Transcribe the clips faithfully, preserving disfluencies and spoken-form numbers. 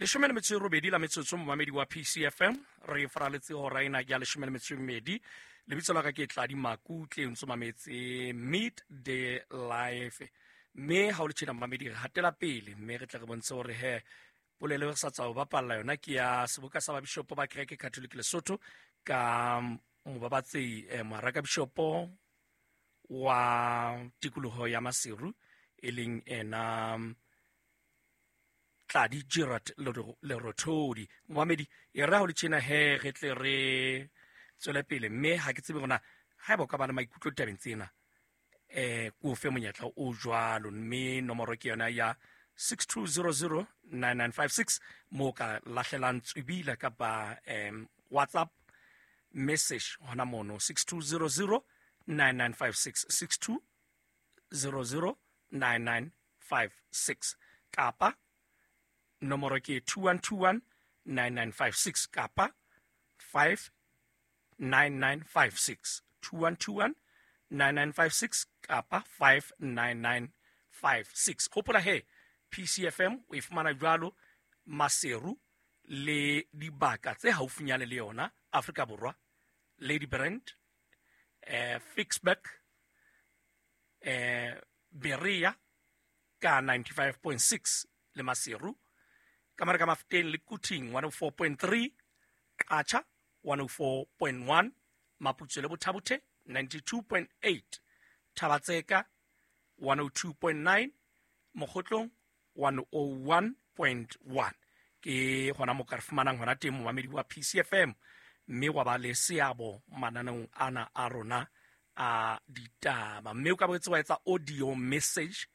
Leshome le metso e robedi la metsotso, momamedi wa P C F M, re faraletse hora ena ya leshome le metso e mmedi. Lebitso la ka ke Tladi Makutle, o ntso mametse Midday Live, mme ha o le tjena, momamedi, re hatela pele mme re tle re bontshe hore he polelo e re sa tswa ho bapalla yona ke ya seboka sa babishopo ba Kereke Catholic Lesotho ka mobabatsehi eh, moharaka bishopo wa tikoloho ya Maseru, e leng ena Tladi Gerard Lerothodi. Momamedi, e re ha o le tjena he re tle re tswele pele, mme ha ke tsebe hore haeba o ka ba le maikutlo ditabeng tsena, eh ko fe monyetla o jwalo, mme nomoro ke yona ya six two zero zero nine nine five six, mo ka lahlelang tswibila kapa um WhatsApp message hona mono, six two zero zero nine nine five six, six two zero zero nine nine five six, kapa nomoro ke two one two one nine nine five six kapa five nine nine five six, two one two one nine nine five six kapa five nine nine five six. Hopola he P C F M o e fumana jwalo Maseru le dibaka tse haufinyane le yona Afrika Borwa: Ladybrand, eh Ficksburg, eh Berea ka ninety-five point six le Maseru, ka mare ka Mafeteng le Quthing one oh four point three, Qacha one oh four point one, Maputsoe le Botha-Bothe ninety-two point eight, Thaba-Tseka one oh two point nine, Mokhotlong one oh one point one. Ke hona mo ka re fumanang hona teng, momamedi wa P C F M, mme wa ba le seabo mananeong ana a rona a ditaba, mme o ka boetse wa etsa audio message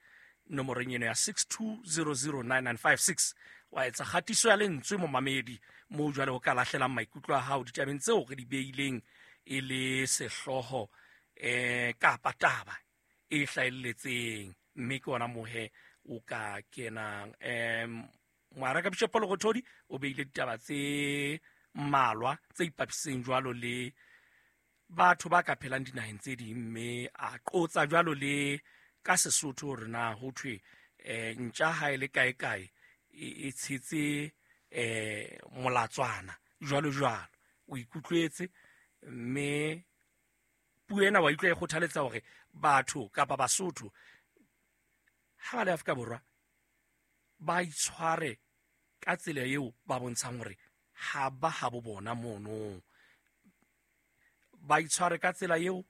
nomorong eno ya six two zero zero nine nine five six, wa etsa kgatiso ya lentswe, momamedi, moo jwale o ka lahlelang maikutlo a hao ditabeng tseo re di beileng e le sehlooho eh kapa taba e hlahelletseng, mme ke ona mohe o ka kenang. um moaraka Bishopo Lerothodi o beile ditaba tse mmalwa tse ipapiseng jwalo le batho ba ka phelang dinaheng tse ding, mme a qotsa jwalo le ka Sesotho hore na ho thwe um ntja ha e le kae kae e tshetse um molatswana, jwalo jwalo. O ikutlwetse, mme puo ena wa utlwa e kgothaletsa hore batho kapa Basotho ha ba le Afrika Borwa ba itshware ka tsela eo ba bontshang hore ha ba habo bona mono, ba itshware ka tsela eo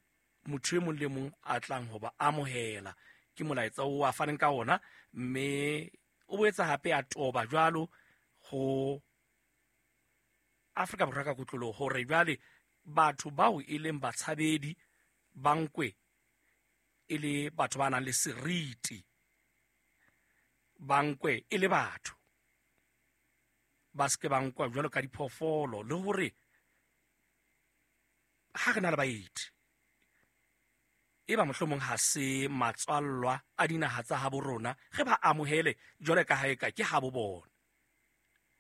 motho e mong le mong a tlang ho ba amohela. Ke molaetsa o a faneng ka ona, mme o boetse hape a toba jwalo ho Afrika Borwa ka kotloloho hore jwale batho bao e leng batshabedi ba nkwe e le batho ba nang le seriti, ba nkwe e le batho, ba seke ba nkwa jwalo ka diphoofolo, le hore ha re na le baeti e ba mohlomong ha se matswallwa a dinaha tsa habo rona, re ba amohele jwale ka ha eka ke habo bona.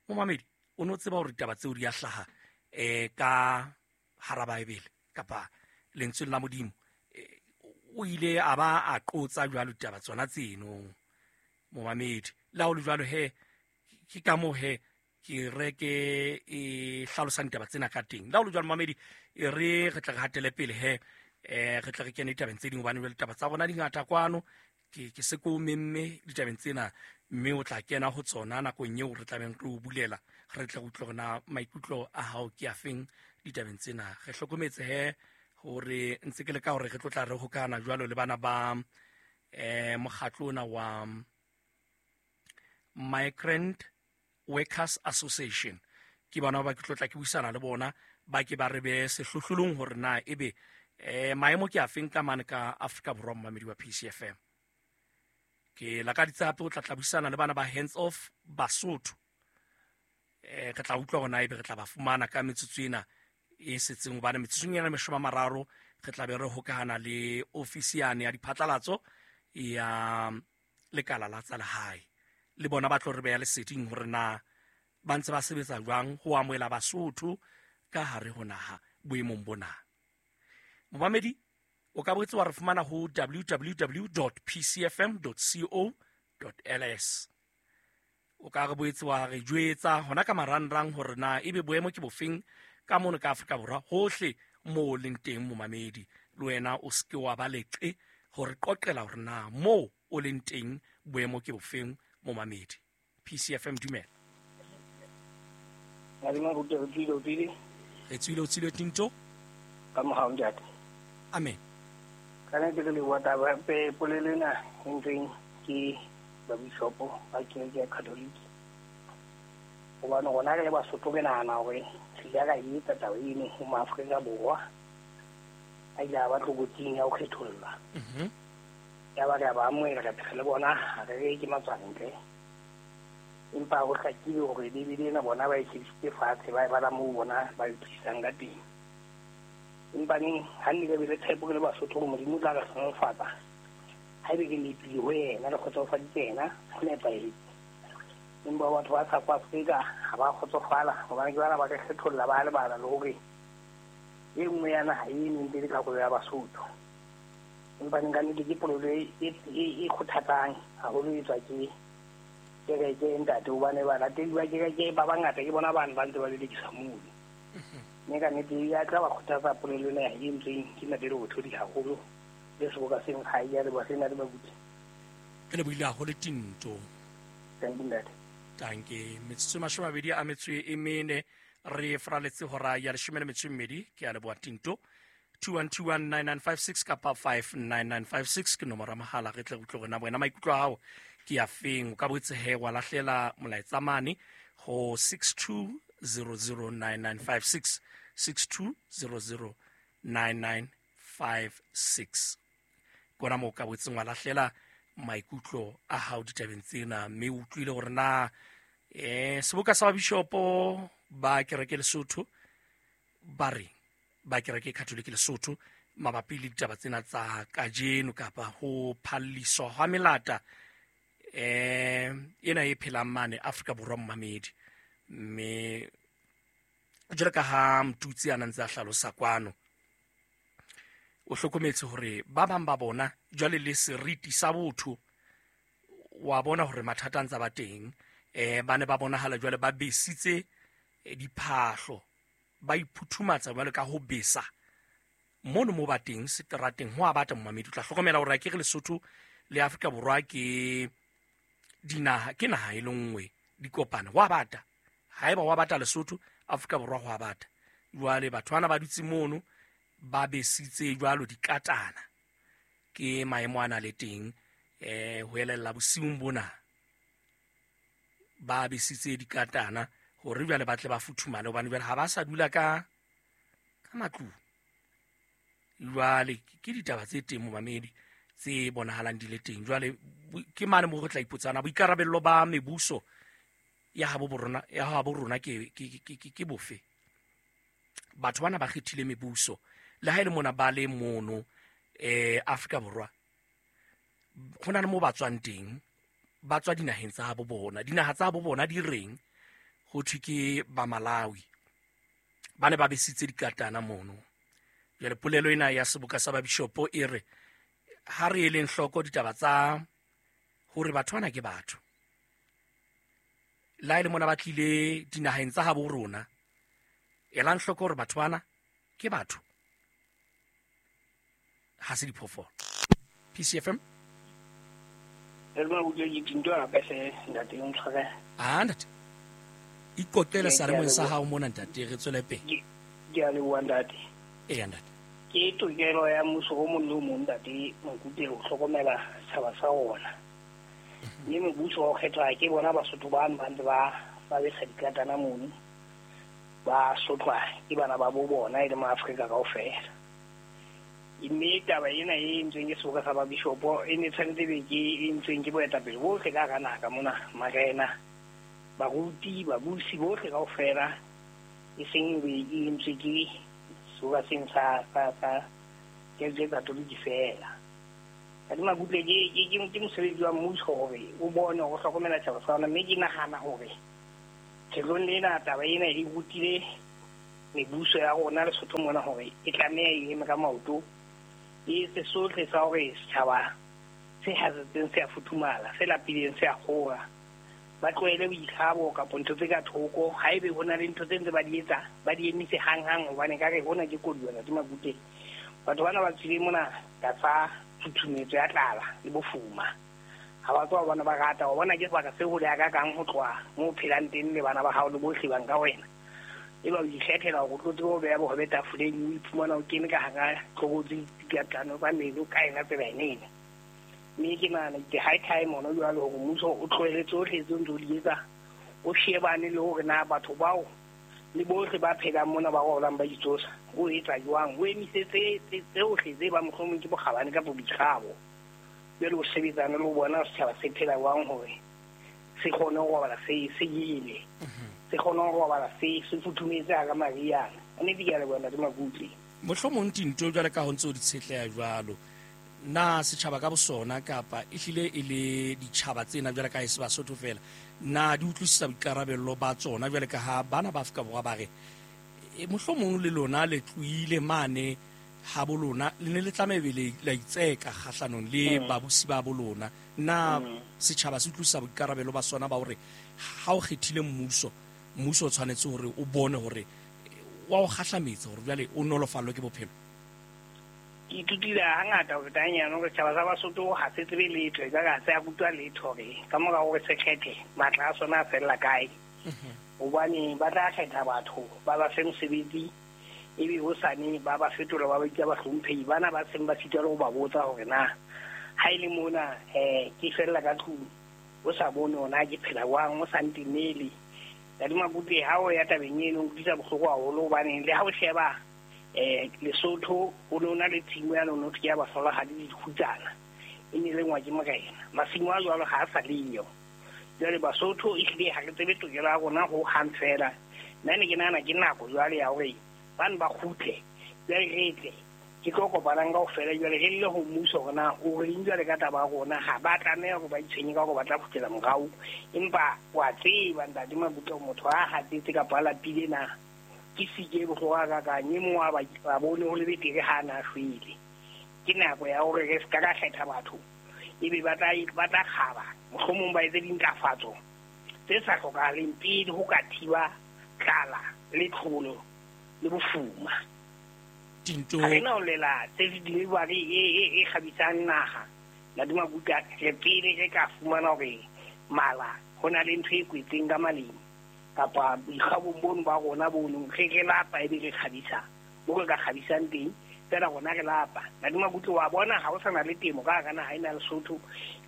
Momamedi, o no tseba hore ditaba tseo di a hlaha um ka hara Baebele kapa lentsweng la Modimo? O ile a ba a qotsa jwalo ditaba tsona tseno, momamedi. Le ha o le jwalo he, ke ka moo he ke reke e hlalosang ditaba tsena ka teng. Le ha o le jwalo, momamedi, e re re tle re hatele pele he, eh re tle re kene ditabeng tse ding, hobane jwale ditaba tsa rona di ngata kwano. ke ke se ko memme ditabeng tsena, mme o tla kena ho tsona nakong eo re tlabeng re o bulela, re tle re utlwe hore na maikutlo a hao ke afeng ditabeng tsena. Re hlokometse he hore ntse ke le ka hore re tlo tla re hokana jwalo le bana ba eh mokgatlo ona wa Migrant Workers Association. Ke bona ba ke tlo tla ke buisana le bona, ba ke ba re be sehlohlolong hore na ebe eh maemo ke afeng ka mane ka Afrika Borwa. Momamedi wa P C F M, ke lakaditse hape o tla tla buisana le bana ba Hands Off Basotho. eh re tla utlwa hore na ebe re tla ba fumana ka metsotso ena e setseng, hobane metsotsong ena mashome a mararo re tla be re hokahana le ofisi yane ya diphatlalatso ya lekala la tsa lehae, le bona ba tlo re beha leseding hore na ba ntse ba sebetsa jwang ho amohela Basotho ka hare ho naha boemong bona. Momamedi, o ka boetse wa re fumana ho W W W P C F M co L S. O ka re boetse wa re jwetsa hona ka marangrang hore na ebe boemo ke bofeng ka mono ka Afrika Borwa hohle moo leng teng momamedi. Le wena o seke wa ba leqe hore qoqela hore na moo o leng teng boemo ke bofeng momamedi. P C F M dumela. Madima rute re tswile o tswile. Re tswile o tswile Tinto. Ka mohau ntate. Amen. Ka nnete re leboha taba polelo ena e ntseng ke babishopo ba kereke ya Catholic. Hobane rona re le Basotho re nahana hore re ile ra e etsa taba eno ho maAfrika Borwa. A ile a ba tlokotsing ya ho kgethollwa. Mhm. Ya ba re a ba amohela re phela le bona ha re re ke matswantle. Empa ho hlakile hore Bibele ena bona ba e shebisitse fatshe ba e bala moo bona ba e utlwisisang ka teng. Empa neng ha nne re be le tshepo re le Basotho hore Modimo o tla re hlohonolofatsa. Haebe re nepile ho yena re kgotsofaditse yena ho nepahetse. Empa batho ba South Africa ha ba kgotsofala hobane ke bana ba re kgetholla ba lebala le hore e nngwe ya naha e neng pele karolo ya Basotho. Empa neng ka nnete ke polelo e, e, e kgothatsang haholo e tswa ke kereke ntate hobane balatedi ba kereke ba bangata ke bona bane ba ntse ba lelekisa mono. Mme ka nnete ya tla ba kgothatsa polelo ena e entsweng ke ntate Lerothodi haholo le seboka seng ha e ya leboha sena le babuti. Ke lebohile haholo Tinto. Thank you ntate. Tanke metsotso e mashome a mabedi a metso e mene re fraletse hora ya leshome le metso e mmedi. Ke a leboha Tinto. two one two one nine nine five six kapa five nine nine five six ke nomoro ya mohala re tle re utlwe hore na wena maikutlo a hao ke a feng. O ka boetse he wa lahlela molaetsa mane ho six two zero zero nine nine five six, six two zero zero nine nine five six. Kona moo o ka boetseng wa lahlela maikutlo a hao ditabeng tsena, mme o utlwile hore na eh seboka sa babishopo ba kereke Lesotho ba reng, ba kereke Catholic Lesotho mabapi le ditaba tsena tsa kajeno kapa ho phalliswa hwa melata eh ena e phelang mane Afrika Borwa momamedi. Mme jwalo ka ha Mtutsi a ntse a hlalosa kwano, o hlokometse hore ba bang ba bona jwale le seriti sa botho wa bona hore mathata a ntse ba teng. Eh ba ne ba bonahala jwale ba besitse diphahlo, ba iphuthumatsa jwale ka ho besa mono mo ba teng seterateng ho a batla momamedi. O tla hlokomela hore akere Lesotho le Afrika Borwa ke dinaha, ke naha e le nngwe di kopana, ho a bata. Haeba wa bata Lesotho, Afrika Borwa ho a bata. Jwale batho bana ba dutse mono ba besitse jwalo dikatana, ke maemo ana le teng eh ho elella bosiung bona ba besitse dikatana hore jwale ba tle ba futhumale, hobane jwale ha ba sa dula ka ka matlung. Jwale ke ditaba tse teng momamedi tse bonahalang di le teng. Jwale ke mane mo re tla ipotsana boikarabello ba mebuso ya habo borona, ya habo rona ke ke ke ke bofe. Batho bana ba kgethile mebuso le ha e le mona ba le mono eh Afrika Borwa, ho na le mo ba tswang teng, ba tswa dinaheng tsa habo bona. Dinaha tsa habo bona di reng? Ho thwe ke ba Malawi ba ne ba besitse dikatana mono. Jwale polelo ena ya seboka sa babishopo e re ha re eleng hloko ditaba tsa hore batho bana ke batho, la e le mona ba tlile dinaheng tsa habo rona, elang hloko hore batho bana ke batho, ha se diphoofolo. P C F M. Elma o ke Tinto hape hle ntate o ntshware. Ah ntate, ikoqele seyalemoyeng sa hao mona ntate, re tswele pele. Ke a leboha ntate. Eya ntate. Ke tokelo ya mmuso o mong le o mong ntate Mokute ho hlokomela setjhaba sa rona. Mme mebuso wa ho kgethwa ke bona Basotho bano ba ntse ba ba besa dikatana mono, ba sotlwa ke bana ba bo bona e le maAfrika kaofela. Mme taba ena e entsweng ke seboka sa babishopo e ne tshwanetse be ke e entsweng ke boetapele bohle ka hara naha ka mona, marena, baruti, babusi bohle kaofela, e seng be e entswe ke seboka seng sa sa sa kereke Katoliki feela. Ka Makutle ke ke ke ke mosebetsi wa mmuso hore o bone hore o hlokomela tjhaba sa ona. Mme ke nahana hore kgetlong lena taba ena e rutile mebuso ya rona Lesotho mona hore e tlameha e eme ka maoto, e etse sohle sa hore setjhaba se hatsetseng se a futhumala, se lapileng se a kgora. Ba tlohele boikgabo kapa ntho tse ka thoko. Haebe ho na le ntho tse ntse ba di etsa, ba di emise hanghang hobane ka re hona ke koduwa Ntate Makutle. Batho bana ba tswile mona tlasa tshutshumetso ya tlala le bofuma. Ha ba tswa bona ba rata, wa bona ke sebaka se hole ya ka kang ho tloha moo o phelang teng le bana ba hao le bohle bang ka wena. Eba o ikgethela hore o tlo tsebe ho beha bohobe tafoleng, o iphumana o kene ka hara tlokotsi dikatano tsa meno ka ena tsela ena ena. Mme ke nahana ke high time hona jwale hore mmuso o tlohele tsohle tseo ntse o di etsa, o shebane le hore na batho bao le bohle ba phelang mona ba rolang ba itsosa, o etsa jwang, o emise tse tsohle tse ba mohlomong ke bokgabane kapa boikgabo. Jwale o sebetsane le ho bona setjhaba se phela jwang hore se kgone ho robala se se jele, se kgone ho robala se se futhumetse hara mariana. Nnete ke a leboha Ntate Makutle. Mohlomong tinto jwale ka ho ntse o di tshetleha jwalo, na setjhaba ka bosona kapa ehlile e le ditjhaba tsena jwale ka e se Basotho fela, na di utlwisisa boikarabello ba tsona jwale ka ha bana ba Afrika Borwa ba re e mohlomong le lona le tlohile mane ha bolona le ne le tlameha ebe le la itseka kgahlanong le babusi ba bolona. Na setjhaba se utlwisisa boikarabelo ba sona ba hore ha o kgethile mmuso, mmuso o tshwanetse hore o bone hore wa o kgahlametsa hore jwale o nolofallwe ke bophelo? Ke ithutile hangata ho feta hanyane hore setjhaba sa Basotho ha se tsebe letho, ekare ha se a rutwa letho hore ka mora hore se kgethe matla a sona a fella kae. Hobane ba tla kgetha batho ba ba fe mosebetsi, ebe hosane ba ba fetola ba ba bitsa bahlomphehi bana ba seng ba sitwa le ho ba botsa hore na ha e le mona um ke fella ka tlung o sa bone hore na ke phela jwang, o sa ntemele. Ntate Makutle, ha o ya tabeng eno o nkutlwisa bohloko haholo hobane le ha o sheba eh Lesotho ho ne ho na le tshimo ya lona ke ya bahlolohadi le dikgutsana, e ne lengwa ke morena. Masimo a jwalo ha a sa leyo. Jwale Basotho ehlile ha re tsebe tokelo ya rona ho hang fela. Nna ne ke nahana ke nako jwale ya hore bane ba kgutle, jwale re tle ke tlo kopanang kaofela, jwale re lle ho mmuso hore na o reng jwale ka taba ya rona. Ha ba tlameha hore ba itshwenye ka hore ba tla kgutlela morao, empa wa tseba Ntate Makutle motho ha hatsetse kapa a lapile na ke sike e bohloko hakakang, e mong wa bone ho le betere ha a na shwele. Ke nako ya hore re ska ka kgetha batho ebe ba tla ba tla kgaba, mohlomong ba etse dintlafatso tse sa hlokahaleng pele ho ka thiba tlala le tlholo le bofuma. Tinto ha re na ho lela tse delivery e e e kgabisang naha. Ntate Makutle, re pele re ka fumana hore mala ho na le ntho e kwetseng ka maleng kapa boikgabong bono ba rona bono, re re lapa ebe re kgabisa mo re ka kgabisang teng, fela rona re lapa. Ntate Makutle, wa bona ha o sa na le temo ka hara naha ena ya Lesotho,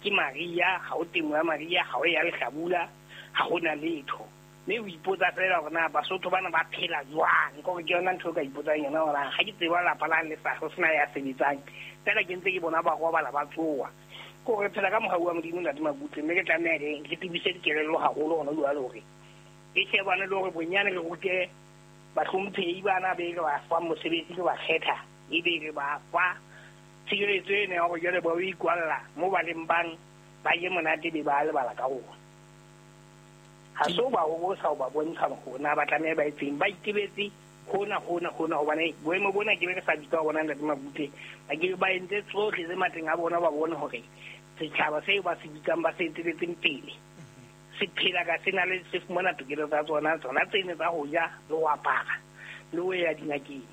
ke mariha, ha o temo ya mariha, ha o ya lehlabula, ha ho na letho. Mme o ipotsa fela hore na Basotho bana ba phela jwang, ke hore ke yona ntho e ka ipotsang yona hore ha ke tseba lapa la le sa ho sena ya sebetsang, fela ke ntse ke bona ba robala ba tsoha. Ke hore phela ka mohau wa Modimo Ntate Makutle, mme re tlameha re re tebise dikelello haholo hona jwale hore e shebane le hore bonyane re rute bahlomphehi bana be re ba fang mosebetsi, re ba kgetha, ebe re ba fa tshireletso ena ya hore jwale ba o ikwalla moo ba leng bang, ba je monate be ba lebala ka rona. Ha se o ba hobosa ho ba bontsha hore na ba tlameha ba etseng, ba itebetse hona hona hona, hobane boemo bona ke be re sa bitsa bona Ntate Makutle, ba ke ba entse tsohle tse matleng a bona, ba bone hore setjhaba seo ba se bitsang ba se eteletseng pele se phela ka se na le se fumana tokelo tsa tsona, tsona tsene tsa ho ja le ho apara le ho ya dingakeng.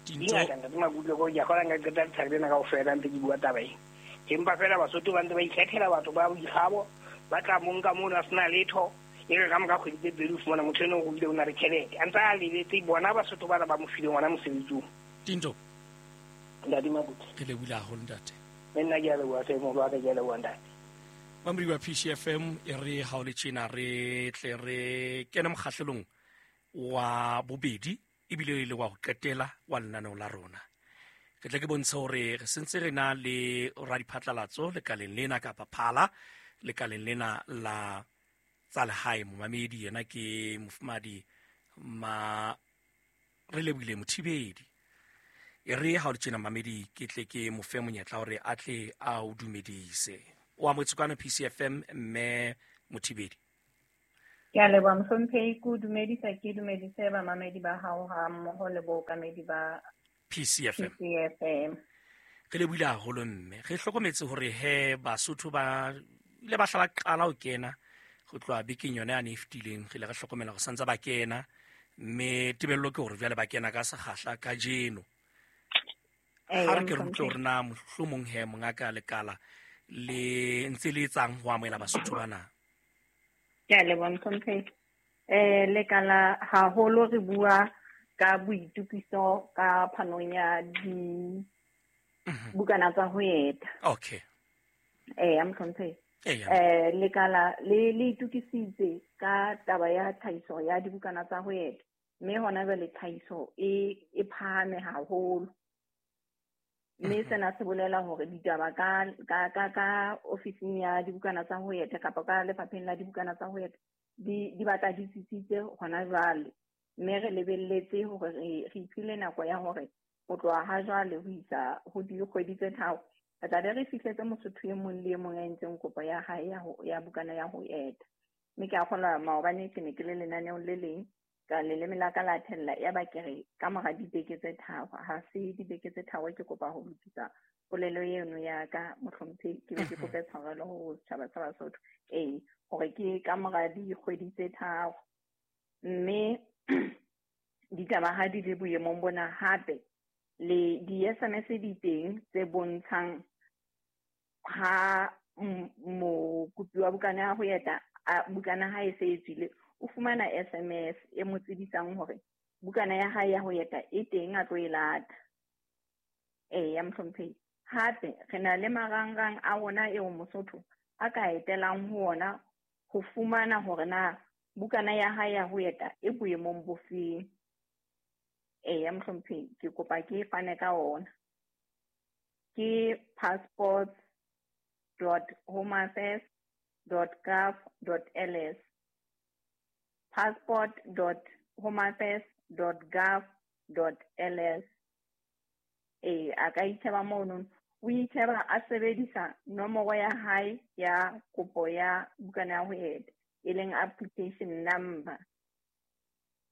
Dingaka Ntate Makutle, ko ke a kgona nka qeta letsatsi lena kaofela ntse ke bua taba ena. Empa fela Basotho ba ntse ba ikgethela batho ba boikgabo, ba tla mo nka mono a sena letho, e re ka mora kgwedi tse pedi o fumana motho eno o ruile o na le tjhelete, a ntse a lebetse bona Basotho bana ba mo fileng ona mosebetsi oo. Tinto Ntate Makutle, re lebohile haholo ntate. Le nna ke a leboha hle, moholo wa ka, ke a leboha ntate. Mamedi wa P C F M, e re ha o le tjena re tle re kene mokgahlelong wa bobedi ebile e le wa ho qetela wa lenaneo la rona. Ke tle ke bontshe hore re sentse re na le radiphatlalatso lekaleng lena kapa phala lekaleng lena la tsa lehae. Momamedi yena ke mofumadi ma re lebohile Mothibedi. E re ha o le tjena mamedi ke tle ke mo fe monyetla hore a tle a o dumedise. O amotse kwana P C F M mme Mothibedi. Ke a leboha mohlomphehi, ke o dumedisa, ke dumedise bamamedi ba hao ha mmoho le bookamedi ba P C F M. P C F M. Re lebohile haholo mme. Re hlokometse hore he Basotho ba ile ba hla ba qala ho kena Go tloha bekeng yona yane e fetileng re ile re hlokomela hore santse ba kena, mme tebello ke hore jwale ba kena ka sekgahla kajeno. Ha re ke re utlwe hore na mohlomong he mongaka lekala le ntse le etsang ho amohela Basotho bana. Ke a leboha mohlomphehi. Eh lekala haholo re bua ka boitukiso ka phanong ya di bukana tsa ho eta. Okay. Eh mohlomphehi. Eh lekala le le itukisitse ka taba ya tlhahiso ya dibukana tsa ho eta, mme hona jwale tlhahiso e e phahame haholo. Mme sena se bolela hore ditaba ka ka ka ka ofising ya dibukana tsa ho eta kapa ka lefapheng la dibukana tsa ho eta di di batla di tsitsitse hona jwale. Mme re lebelletse hore re re iphile nako ya hore ho tloha ha jwale ho isa ho dikgwedi tse tharo re tla be re fihletse Mosotho e mong le e mong a entseng kopo ya hae ya ho ya bukana ya ho eta. Mme ke a kgolwa maobane ke ne ke le lenaneong le leng ka leleme la ka la thella, ya ba ke re ka mora dibeke tse tharo, ha se dibeke tse tharo ke kopa ho lokisa polelo eno ya ka mohlomphehi, ke be ke kope tshwarelo ho setjhaba sa Basotho. Ee, hore ke ka mora dikgwedi tse tharo. Mme ditaba ha di le boemong bona, hape le di-S M S di teng tse bontshang ha mokopi wa bukana ya ho eta, bukana ha e se e tswile, o fumana S M S e mo tsebisang hore bukana ya hae ya ho eta e teng a tlo e lata. Eya mohlomphehi. Hape re na le marangrang a rona eo Mosotho a ka etelang ho ona ho fumana hore na bukana ya hae ya ho eta e boemong bofeng. Eya mohlomphehi, ke kopa ke fane ka ona. Ke passports dot homeaffairs dot gov dot L S. passport dot homeaffairs dot gov dot L S. Eh, a ka itjheba mono, o itjheba a sebedisa nomoro ya hae ya kopo ya bukana ya ho eta, e leng application number.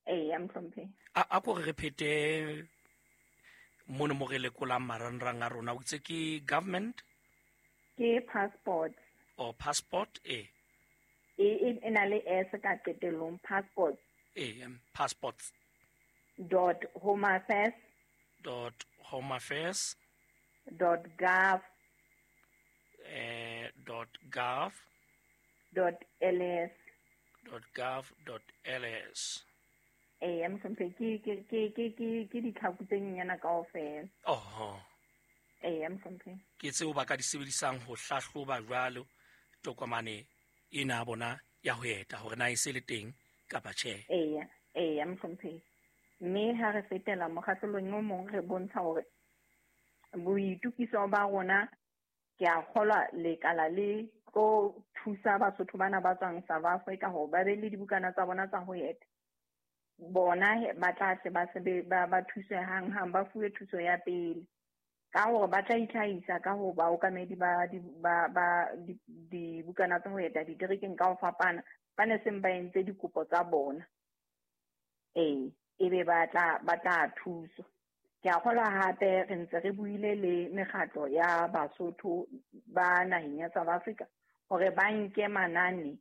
Eh, mohlomphehi. A a ko re phete mono mo re lekolang marangrang a rona, o itse ke government? Ke passport. O passport e. E e na le S ka qetellong, passport. E, passports. Dot home affairs. Dot home affairs. Dot gov. Eh, dot gov. Dot L S. Dot gov dot L S. Eh, mohlomphehi, ke ke ke ke ke ke ditlhaku tse nyenyana kaofela. Oho. Eh, mohlomphehi. Ke tseo ba ka di sebedisang ho hlahloba jwalo tokomane ena ya bona ya ho eta hore na e se le teng kapa tjhe. Eya, eya mohlomphehi. Mme ha re fetela mokgahlelong o mong re bontsha hore boitukiso ba rona, ke a kgolwa lekala le tlo thusa Basotho bana ba tswang South Africa hore ba be le dibukana tsa bona tsa ho eta. Bona ba tla tle ba sebe ba ba thuswe hang-hang, ba fuwe thuso ya pele ka hore ba tla itlhahisa ka ho baokamedi ba ba ba dibukana tsa ho eta diterekeng ka ho fapana, ba ne seng ba entse dikopo tsa bona. Ee, ebe ba tla ba tla thuswa. Ke a kgolwa hape re ntse re buile le mekgatlo ya Basotho ba naheng ya South Africa hore ba nke manane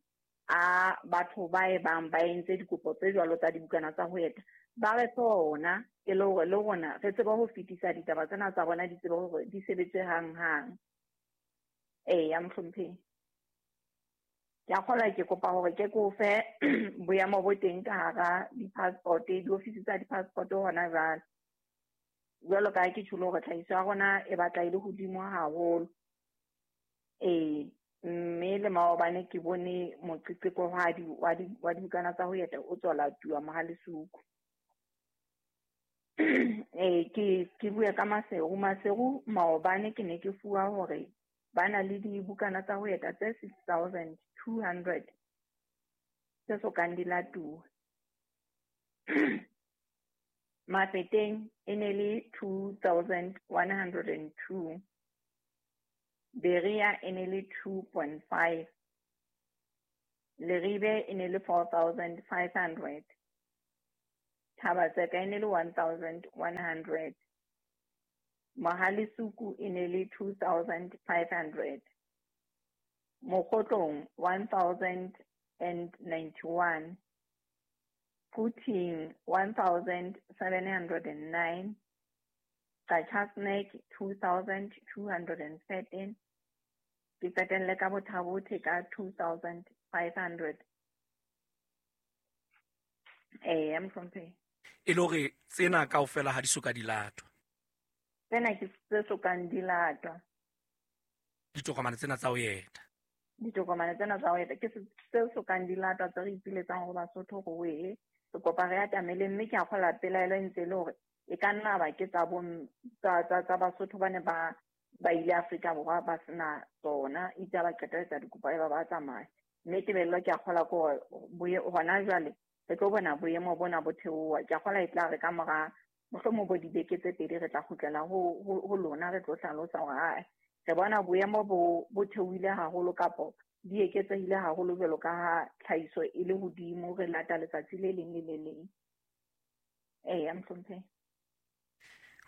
a batho ba e bang ba entse dikopo tse jwalo tsa dibukana tsa ho eta, ba re fe ona e le hore le rona re tsebe ho fetisa ditaba tsena tsa bona, di tsebe hore di sebetse hang-hang. Eya mohlomphehi. Ke a kgolwa ke kopa hore ke ko fe boemo bo teng ka hara di-passport, diofisi tsa di-passport hona jwale. Jwalo ka ha ke tjholo hore tlhahiso ya rona e batla e le hodimo haholo. Ee, mme le maobane ke bone moqeqekohadi wa di wa dibukana tsa ho eta o tswa latuwa Mohalesuku. Eh, ke ke bue ka Maseru. Maseru maobane ke ne ke fuwa hore ba na le dibukana tsa ho eta tse six thousand two hundred tse sokang di latuwa. Mafeteng e ne le two thousand one hundred and two. Berea e ne le two point five. Leribe e ne le four thousand five hundred. Thabatseka e ne le one thousand one hundred. Mohalesuku e ne le two thousand five hundred. Mokgotlong one thousand and ninety-one. Quthing one thousand seven hundred and nine. Qacha's Nek two thousand two hundred and thirteen. Ke qetelle ka Botha-Bothe ka two thousand five hundred. Eh, mohlomphehi. E le hore tsena kaofela ha di soka di latwa. Tsena ke tse sokang di latwa. Ditokomane tsena tsa ho eta. Ditokomane tsena tsa ho eta ke tse sokang di latwa tse re ipiletsang ho Basotho hore we re kopa re atamele, mme ke a kgola pelaelo e ntse e le hore e ka nna ba ke tsa bo tsa tsa Basotho ba ne ba ba ile Afrika Borwa ba sena tsona, itse ba qetelletsa dikopo e ba ba tsamaya. Mme tebello ke a kgola ke hore hona jwale re tlo bona boemo bona bo theoha. Ke a kgola e tla re ka mora mohlomong bo dibeke tse pedi re tla kgutlela ho ho lona, re tlo hlalosa hore ae re bona boemo bo bo theohile haholo kapo di eketsehile haholo jwalo ka ha tlhahiso e le hodimo, re lata letsatsi le leng le le leng. Eya, mohlomphehi.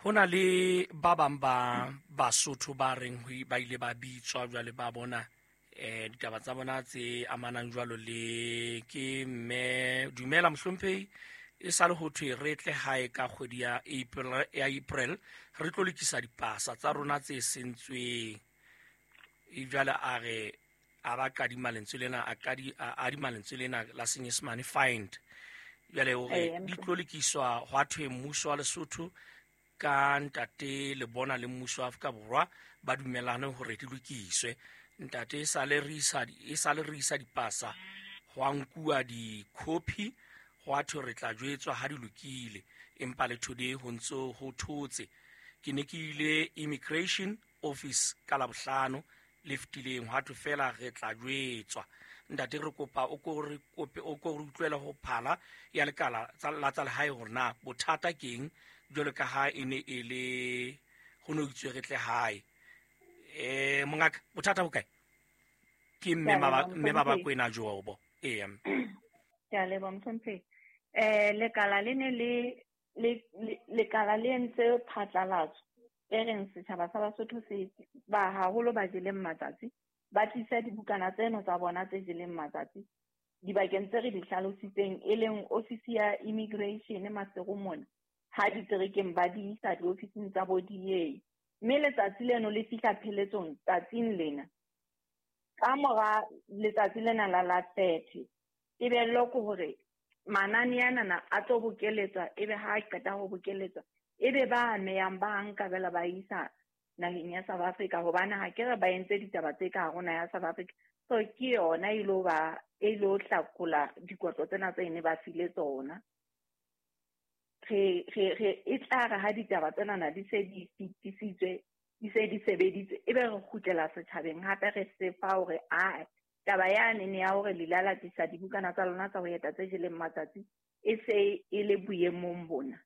Ho na le ba bang ba Basotho ba reng ba ile ba bitswa jwale ba bona eh ditaba tsa bona tse amanang jwalo le ke mme dumela mohlomphehi, e sale ho thwe re tle hae ka kgwedi ya April ya April re tlo lokisa dipasa tsa rona tse sentsweng. E jwale a re a ba kadima lentswe lena a kadi a adima lentswe lena la Senyesemane find. Jwale o re di tlo lokiswa hwa thwe mmuso wa Lesotho ka ntate le bona le mmuso wa Afrika Borwa ba dumellane hore di lokiswe. Ntate e sale re isa e sale re isa dipasa ho nkuwa di-copy ho thwe re tla jwetswa ha di lokile, empa le today ho ntso ho thotse. Ke ne ke ile immigration office ka Labohlano le fetileng, hwa thwe fela re tla jwetswa. Ntate re kopa o ko re kope o ko re utlwela ho phala ya lekala la tsa lehae hore na bothata keng jwalo ka ha e ne e le ho no itswe re tle hae. Eh mongaka bothata bo kae? Ke mme ba mme ba ba kwena jobo. Eh Ke a leboha mohlomphehi. Eh lekala le ne le le lekala le entse phatlalatso e reng setjhaba sa Basotho se ba haholo ba jeleng matsatsi ba tlisa dibukana tseno tsa bona tse jeleng matsatsi dibakeng tse re di hlalositseng, e leng ofisi ya immigration Maseru mona ha diterekeng ba di isa diofising tsa bo D A. Mme letsatsi leno le fihla pheletsong tsatsing lena. Ka mora letsatsi lena la la thirty, tebello ke hore manane anana a tlo bokeletswa, ebe ha a qeta ho bokeletswa ebe ba amehang ba nka bela ba isa naheng ya South Africa, hobane ha ke re ba entse ditaba tse ka hare ho naha ya South Africa. So ke yona e lo ba e lo hlakola dikotlo tsena tse ne ba file tsona. Re re re e tla re ha ditaba tsena di se di fetisitswe, di se di sebeditswe, ebe re kgutlela setjhabeng hape re se fa hore a taba yane ne ya hore le la latisa dibukana tsa lona tsa ho eta tse jeleng matsatsi e se e le boemong bona.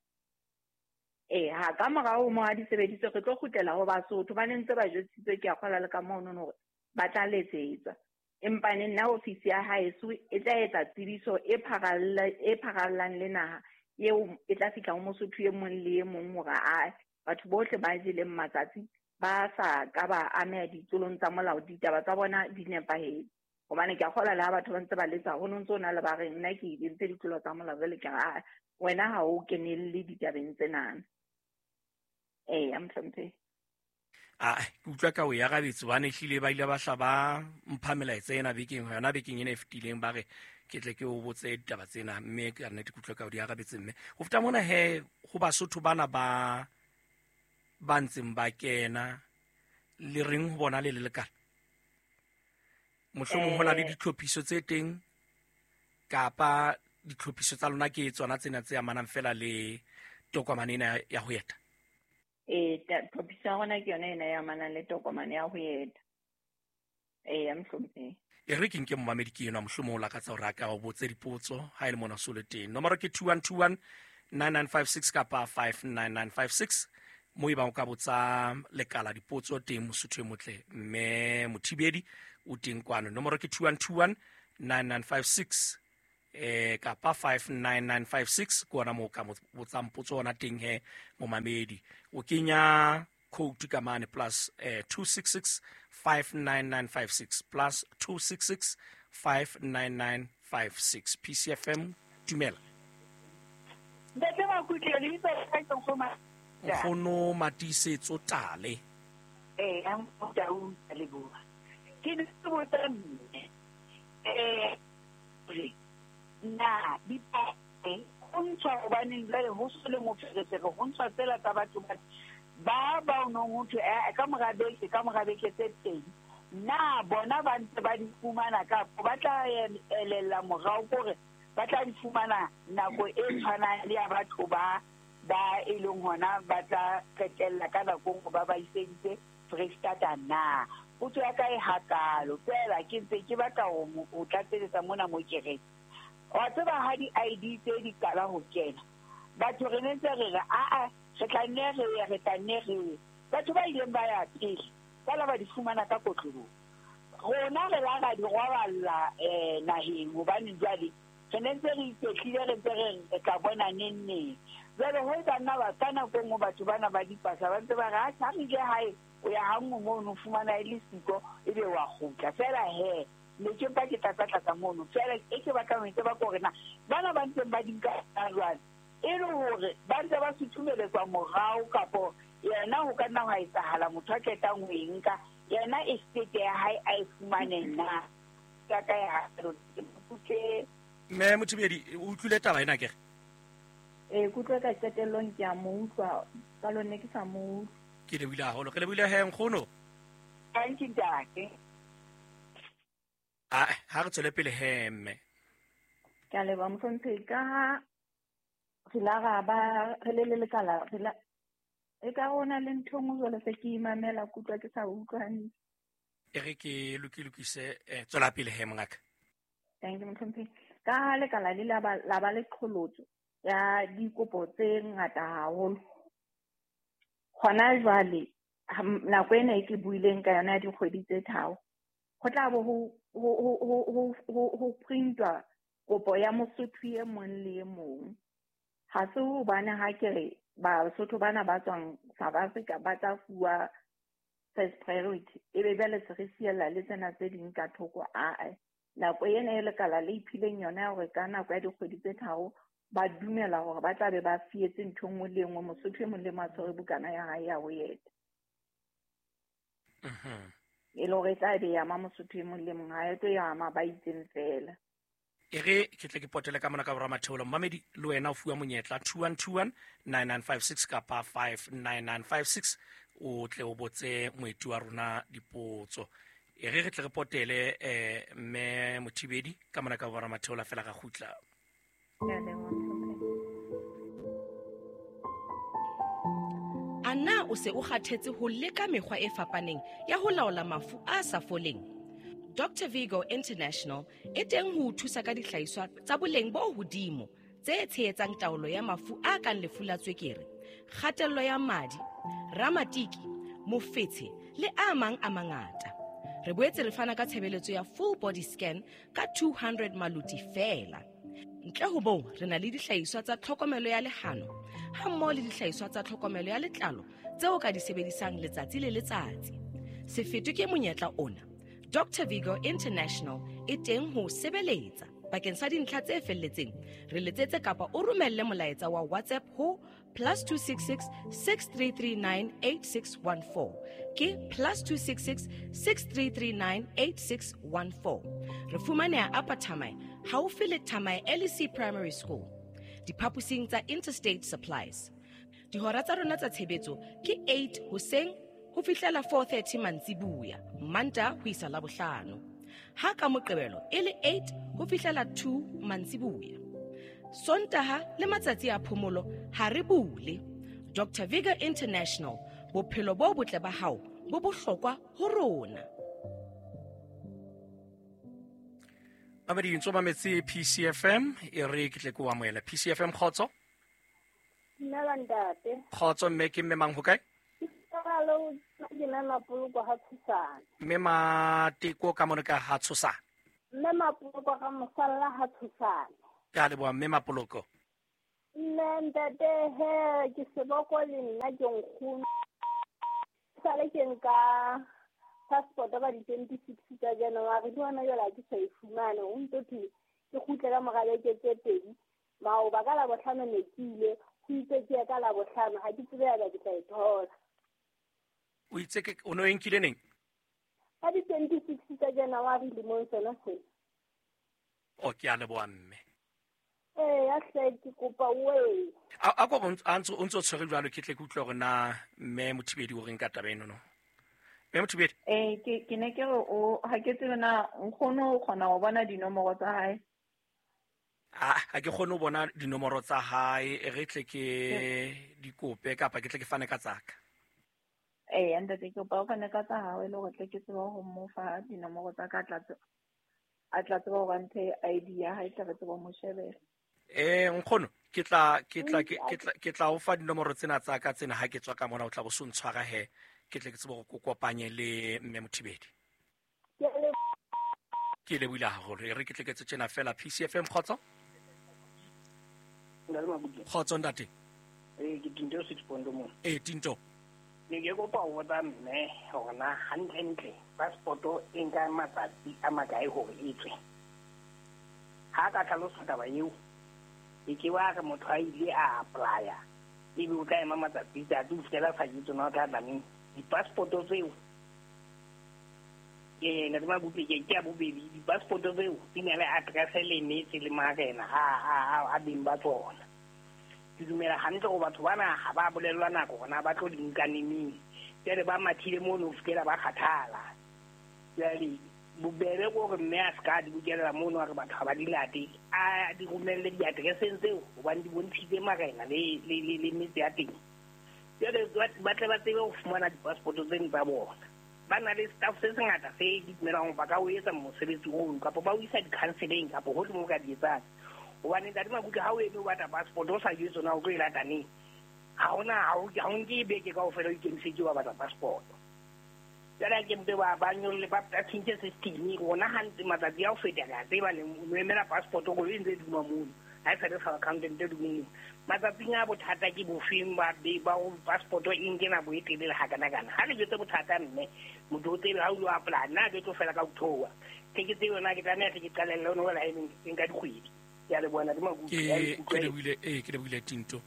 Eh ha ka morao mo ha di sebeditswe re tlo kgutlela ho Basotho ba ne ntse ba jwetsitswe ke a kgola le ka mono hore ba tla letsetswa. Empa ne nna ofisi ya haeso e tla etsa tsebiso e pharalla e pharallang le naha eo e tla fihla ho Mosotho e mong le e mong hore a batho bohle ba jeleng matsatsi ba sa ka ba ameha ditsolong tsa molao, ditaba tsa bona di nepahetse. Hobane ke a kgola le ha batho ba ntse ba letsa ho no ntso na le ba re nna ke entse ditlolo tsa molao jwale ke re wena ha o kenelle ditabeng tsena. Eh, mohlomphehi. Ah, ke utlwa ka o ya rabetse hobane ehlile ba ile ba hla ba mpha melaetsa ena bekeng yona bekeng ena e fetileng, ba re ke tle ke o botse ditaba tsena, mme ka nnete ke utlwa ka o di arabetse. Mme ho feta mona he ho Basotho bana ba ba ntseng ba kena le reng ho bona le le lekala, mohlomong ho na le ditlhophiso tse teng kapa ditlhophiso tsa lona ke tsona tsena tse amanang fela le tokomane ena ya ho eta? Eh tlhophiso ya rona ke yona ena e amanang le tokomane ya ho eta. Eh mohlomphehi. E re ke nke momamedi ke enwa mohlomong o lakatsa hore a ka o botse dipotso ha e le mona so le teng. Nomoro ke two one two one nine nine five six kapa five nine nine five six mo e bang o ka botsa lekala dipotso teng Mosotho e motle mme Mothibedi o teng kwano. Nomoro ke two one two one nine nine five six eh kapa five nine nine five six ke ona moo ka botsang potso ona teng he momamedi. O kenya code ka mane plus eh, two six six five nine nine five six plus two six six five nine nine five six. P C F M, dumela. Ntate Makutle, lebitso la ka ke Nkgono. Nkgono Matisetso Tale. Eh, a motau leboha. Ke ne ke botsa mme. Eh, re na dipale ho ntshwa hobaneng jwale ho so le moferefere, ho ntshwa tsela tsa batho ba ba ba o nong ho thwe eh ka mora beke, ka mora beke tse pedi. Na bona ba ntse ba di fumana kapa ba tla elella morao kore ba tla di fumana nako e tshwanang le ya batho ba ba e leng hona ba tla qetella ka nako nngwe ba ba iseditse Freistata na. Potso ya ka e hakalo fela ke ntse ke batla ho ho tlatseletsa mona mo ke reng. Wa tseba ha di-I D tse di qala ho kena, batho re ne ntse re re aa re tla nne re ye, re tla nne re ye. Batho ba ileng ba ya pele ba la ba di fumana ka kotloloho. Rona re la ra di roballa eh naheng hobane jwale re ne ntse re iketlile, re ntse re re tla bona neng neng. Jwale ho etsa nna ba ka nako e nngwe batho bana ba dipasa ba ntse ba re ha re ile hae o ya ha nngwe mono o fumana e le siko ebe wa kgutla. Fela he ne ke mpa ke tlatsa-tlatsa mono fela e ke batlang ho e tseba ke hore na bana ba ntseng ba di nka jwale e le hore ba ntse ba suthumeletswa morao kapo yena ho ka nna hwa etsahala motho a qetang ho e nka yena estate ya hae a e fumane na. Ka ka ya ke Mme Mothibedi, o utlwile taba ena kere? Eh, kutlwe ka qetellong ke a mo utlwa, ka lone ke sa mo utlwa. Ke lebohile haholo, re lebohile he nkgono. Thank you ntate. Ah, ha re tswele pele he mme. Ke a leboha mohlomphehi, ka ha re la ra ba re le le lekala re la e ka rona le ntho e nngwe jwale se ke imamela kutlwa ke sa utlwa hantle. E re ke lokilokise eh, tswela pele he mongaka. Thank you mohlomphehi. Ka ha lekala le la ba la ba le qholotso ya dikopo tse ngata haholo. Hona jwale nako ena e ke buileng ka yona ya dikgwedi tse tharo, ho tla bo ho ho ho ho ho ho printwa kopo ya Mosotho e mong le e mong. Ha se hobane ha ke re Basotho bana ba tswang South Africa ba tla fuwa first priority, ebe jwale se re siella le tsena tse ding ka thoko. Ae, nako ena e lekala le iphileng yona ya hore ka nako ya dikgwedi tse tharo ba dumela hore ba tla be ba fietse ntho e nngwe le e nngwe, Mosotho e mong le mong a tshwere bukana ya hae ya ho eta. E le hore e tla be ya ama Mosotho e mong le mong, ha e tlo ya ama ba itseng fela. E re ke tle ke potele ka mona ka borwa matheolo. Mmamedi le wena o fuwa monyetla two one two one nine nine five six kapa five nine nine five six o tle o botse moeti wa rona dipotso. E re re tle re potele eh mme Mothibedi ka mona ka borwa matheolo fela ga kgutla. Ana o se o kgathetse ho leka mekgwa e fapaneng ya ho laola mafu a sa foleng? Doctor Vigo International e teng ho o thusa ka dihlahiswa tsa boleng bo hodimo tse tshehetsang taolo ya mafu a kang lefu la tswekere, kgatello ya madi, ramatiki, mofetshe le a mang a mangata. Re boetse re fana ka tshebeletso ya full body scan ka two hundred maluti feela. Ntle ho moo, re na le dihlahiswa tsa tlhokomelo ya lehano ha mmoho le dihlahiswa tsa tlhokomelo ya letlalo tseo ka di sebedisang letsatsi le letsatsi. Se fetwe ke monyetla ona. Doctor Vigo International e teng ho sebeletsa. Bakeng sa dintlha tse felletseng, re letsetse kapa o romelle molaetsa wa WhatsApp ho plus two six six six three three nine eight six one four. Ke plus two six six six three three nine eight six one four. Re fumaneha Upper Thamae, haufi le Thamae L E C Primary School, diphaposing tsa Interstate Supplies. Dihora tsa rona tsa tshebetso ke eight hoseng ho fihlela four thirty mantsibuya, Manta ho isa Labohlano. Ha ka Moqebelo e le eight ho fihlela two mantsibuya. Sontaha le matsatsi a phomolo ha re bule. Doctor Vigo International, bophelo bo botle ba hao bo bohlokwa ho rona. Mamedi ntso mametse P C F M, e re ke tle ke o amohela. P C F M kgotso. Dumela ntate. Kgotso mme, ke mme mang ho kae? Hello, ke mme Mapoloko ha Tshosana. Mme Mateko ka mona ka ha Tshosana. Mme Mapoloko ga mosalla ha Tshosana. Ke a leboha mme Mapoloko. Nna ntate he ke seboko le nna ke nkgono. Sale ke nka passport ba di twenty-six tsa January le hona jwale ha ke sa e fumane. O ntso thwe ke kgutle ka mora beke tse pedi. Maoba ka Labohlano ne ke ile, ho itse ke ya ka Labohlano, ha ke tsebe haeba ke tla e thola. O itse ke o no e nkile neng? Ka di twenty-six tsa January lemong sona sena. O ke a leboha mme. Ee, ya hle ke kopa we. A a ko a ntse o ntse o tshwere jwalo ke tle ke utlwe hore na mme Mothibedi o reng ka taba eno no. Mme Mothibedi. Eh ke ke ne ke re o ha ke tsebe na nkgono o kgona ho bona dinomoro tsa hae. Ah, ha ke kgone ho bona dinomoro tsa hae, e re tle ke di kope kapa ke tle ke fane ka tsaka. Eh, ntate ke kopa o fane ka tsa hao e le hore tle ke tsebe ho mo fa dinomoro tsa ka tla a tla tseba hore mphe I D ya hae tle re tsebe ho mo shebela. Eh nkgono ke tla ke tla ke tla ke tla o fa dinomoro tsena tsa ka tsena ha ke tswa ka mona o tla bo so ntshwara he ke tle ke tsebe hore ke kopanye le mme Mothibedi. Ke lebohile haholo e re ke tle ke tse tjena fela P C F M kgotso. Kgotso ntate. Eh ke Tinto six point mo. Eh Tinto. Ne ke kopa ho botsa mme hore na hantlentle passport e nka matsatsi a makae hore e tswe. Ha ka tlhalosa taba eo e ke wa re motho a ile a apply-a ebe o tla ema matsatsi a tlo fihlela sa ke tsona o tla tla neng di-passport tseo. Eh ntate Mabutle ke ke a bobedi di-passport tseo di na le address le metse le marena a a a beng ba tsona. Ke dumela hantle hore batho bana ha ba bolellwa nako hore na ba tlo di nka neneng. Jwale ba mathile mono ho fihlela ba kgathala. Jwale bobebe ke hore mme a ska di bokella mono a re batho ha ba di late, a di romelle di-address-eng tseo hobane di bontshitse marena le le le le metse ya teng. Jwale ba tle ba tsebe ho fumana di-passport tseno tsa bona. Ba na le staff se sengata se di dumelang hore ba ka o etsa mosebetsi ono kapa ba o isa di-counselling kapa hohle moo o ka di etsang. Hobane ntate Mabutle ha o eme o batla passport o sa jwetse na o tlo e lata neng. Ha hona ha o ha o nke beke kaofela o ikemiseditse wa batla passport. Jwale ke mpe ba ba nyolle ba tjhentjhe system rona hantle matsatsi a ho feta re a tseba le o emela passport o e ntse e duma mono. Ha e sa le sa accountant e duma mono. Matsatsing a bothata ke bofeng ba ba passport e nke nako e telele hakanakana. Ha le jwetse bothata mme motho o tsebe ha o lo apply nna ke tlo fela ka ho theoha. Ke ke tsebe na ke tlameha ke qalelle ono wela e nka dikgwedi. Ke a leboha ntate Mabutle. Ke ke lebohile eh ke lebohile Tinto.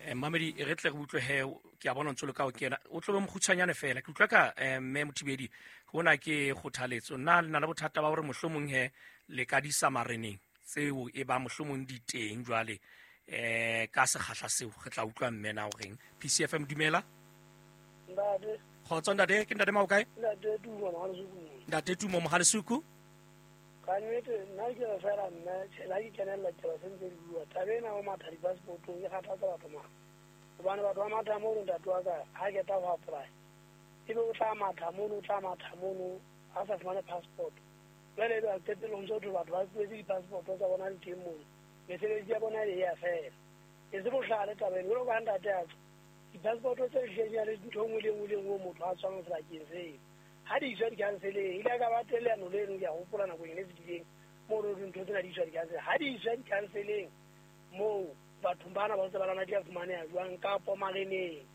Eh mamedi re tle re utlwe he ke a bona ntse le ka o kena o tlo be mokgutshwanyane fela ke utlwa ka mme Mothibedi hona ke kgothaletso nna le na le bothata ba hore mohlomong he le ka di sa mareneng tseo e ba mohlomong di teng jwale eh ka sekgahla seo re tla utlwa mme na o reng. P C F M dumela. Ntate. Kgotso ntate ke ntate Maokae? Ntate Tumo Mohalesuku. Ntate Tumo Mohalesuku. Ka nnete nna ke re fela mme tjhe ha ke kenella ditaba tse ntse di bua taba ena ho matha di-passport-ong e kgathatsa batho mara. Hobane batho ba matha mono ntate wa ka ha qeta ho apply ebe o tla matha mono o tla matha mono a sa fumane passport. Jwale ebe qetellong ntso thwe batho ba tlohetse di-passport tsa bona di teng mono mesebetsi ya bona e ya fela. E se bohlale taba eno jwalo ka ha ntate a tswa di-passport tse hlileng ya le ntho e nngwe le e nngwe le e nngwe motho a tswang sebakeng seo. Ha di iswa di-counseleng ile ka ba teng leano leno ke a hopola nakong e fetileng moo re dintho tsena di iswa di-counseleng. Ha di iswa di-counseleng moo bathong bana ba ntse ba lwana di a fumaneha jwang kapo mareneng.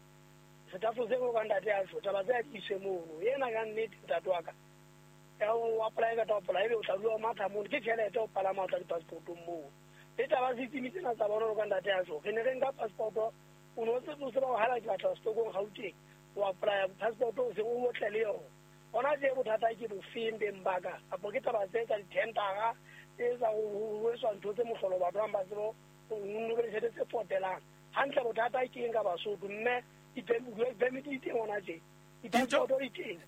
Setafo seo ka ntate a tjho taba tse a di iswe mono. Ena ka nnete ntate wa ka ya o apply ka tla apply ebe o tla dula o matha mono ke tjhelete o palama o tla di-passport-ong moo. Le taba system tsena tsa bona ka ntate a tjho re ne re nka passport o no tse o tseba ho hala ke batla setokong Gauteng o apply passport o se o otle le yona. Hona tje bothata ke bofeng beng ba ka kapo ke taba tse tsa di-tendera tse tsa ho etswa ntho tse mohlolo batho ba bang ba tsebe ho be le tjhelete tse potelang. Hantle bothata ke eng ka Basotho mme di-permit di teng hona tje di-passport di teng.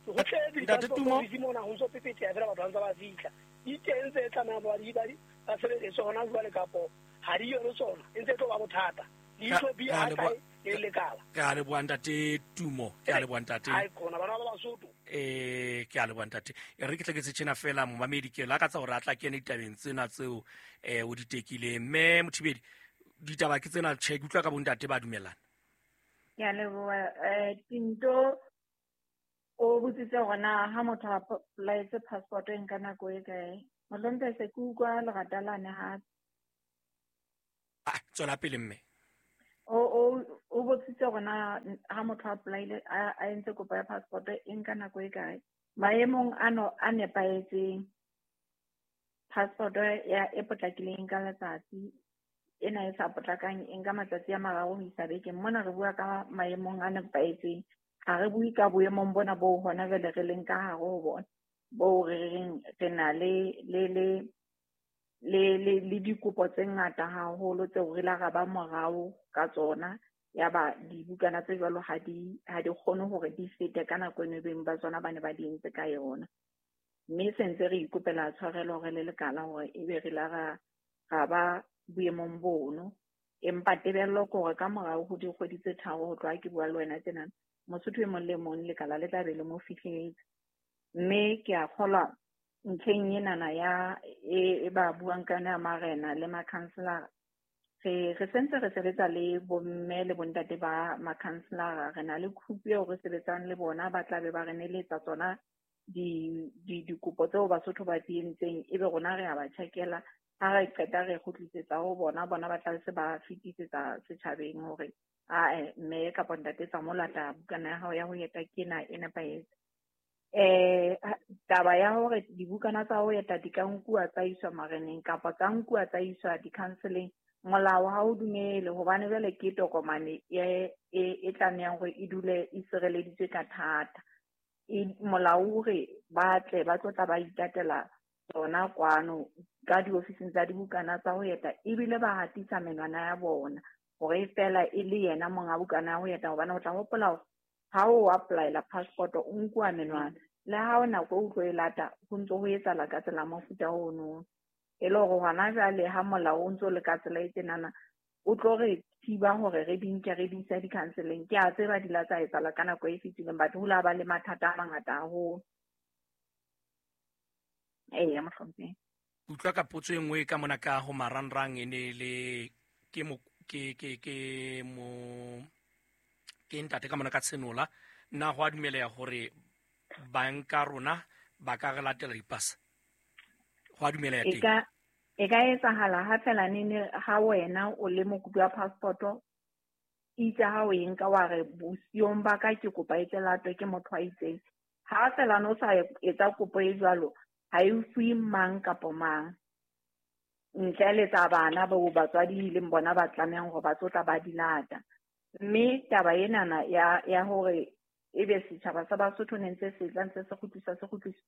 Ho tletse di-passport di mona ho ntso pepeteha fela batho ba ntse ba fihla. Di teng tse tlamehang ba di ba sebediswe hona jwale kapo ha di yo le tsona e ntse e tlo ba bothata. Leihlo bi a kae le lekala. Ke a leboha ntate Tumo, ke a leboha ntate. Ai khona bana ba Basotho. Eh ke a leboha ntate. E re ke tle ke tse tjena fela momamedi ke lakatsa hore a tla kene ditabeng tsena tseo eh o di tekileng. Mme Mothibedi ditaba ke tsena tjhe ke utlwa ka bontate ba dumellana. Ke a leboha eh Tinto o botsitse hore na ha motho a apply-etse passport e nka nako e kae. Mohlomong se ke utlwa lerata lane hape. Ah tswela pele mme. O o o botsitse hore na ha motho a apply-ile a entse kopo ya passport e nka nako e kae. Maemong ano a nepahetseng, passport ya e potlakileng ka letsatsi, ena e sa potlakang e nka matsatsi a mararo ho isa bekeng. Mona re bua ka maemong a nepahetseng, ha re bue ka boemong bona bo hona jwale re leng ka hare ho bona, bo re reng re na le le le le le le dikopo tse ngata haholo tseo re la ra ba morao ka tsona. Ya ba dibukana tse jwalo ha di ha di kgone hore di fete ka nako eno beng ba tsona ba ne ba di entse ka yona. Mme se ntse re ikopela tshwarelo re le lekala hore ebe re la ra ra ba boemong bono. Empa tebello ke hore ka morao ho dikgwedi tse tharo ho tloha ke bua le wena tjena, Mosotho e mong le mong lekala le tla be le mo fihletse. Mme ke a kgolwa ntlheng enana ya e, e ba buang ka yona ya marena le makhanselara, re re sentse re sebetsa le bomme le bontate ba makhanselara. Re na le group eo re sebetsang le bona, ba tla be ba re neletsa tsona di di dikopo tseo Basotho ba di entseng, ebe rona re a ba check-ela. Ha re qeta re kgutlisetsa ho bona, bona ba tla se ba fetisetsa setjhabeng hore ae mme kapa ntate tsa mo lata bukana ya hao ya ho eta ke ena e nepahetse. Eh taba ya hore dibukana tsa ho eta di ka nkuwa tsa iswa mareneng kapa tsa nkuwa tsa iswa di-counseling, molao ha o dumele, hobane jwale ke tokomane e e e tlamehang hore e dule e sireleditswe ka thata. E molao o re ba tle ba tlo tla ba itatela tsona kwano ka diofising tsa dibukana tsa ho eta, ebile ba hatisa menwana ya bona hore feela e le yena monga bukana ya ho eta. Hobane o tla hopola hore ha o apply-ela passport o nkuwa menwana, le ha o nako o tlo e lata ho ntso ho etsahala ka tsela mofuta ono. E le hore hona jwale ha molao o ntso le ka tsela e tjenana, o tlo re thiba hore re di nke re di ise di-counseling. Ke a tseba di la tsa etsahala ka nako e fetileng, batho ho la ba le mathata a mangata haholo. Eya, mohlomphehi. Utlwa ka potso e nngwe ka mona ka ho marangrang e ne le ke mo ke ke ke mo ke ntate ka mona ka Tshenola. Na ho a dumeleha hore banka rona ba ka re latela dipasa? Ho a dumeleha E teng? ka e ka etsahala ha feela nene ha wena o le mokopi wa passport-o, itse ha o e nka wa re bosiong ba ka ke kopa e tle latwe ke motho a itseng. Ha feela no sa etsa kopo e jwalo, ha e fuwe mang kapo mang, ntle le tsa bana bao batswadi leng bona ba tlamehang hore ba tlo tla ba di lata. Mme taba enana ya ya hore ebe setjhaba sa Basotho ne ntse se tla ntse se kgutliswa se kgutliswa,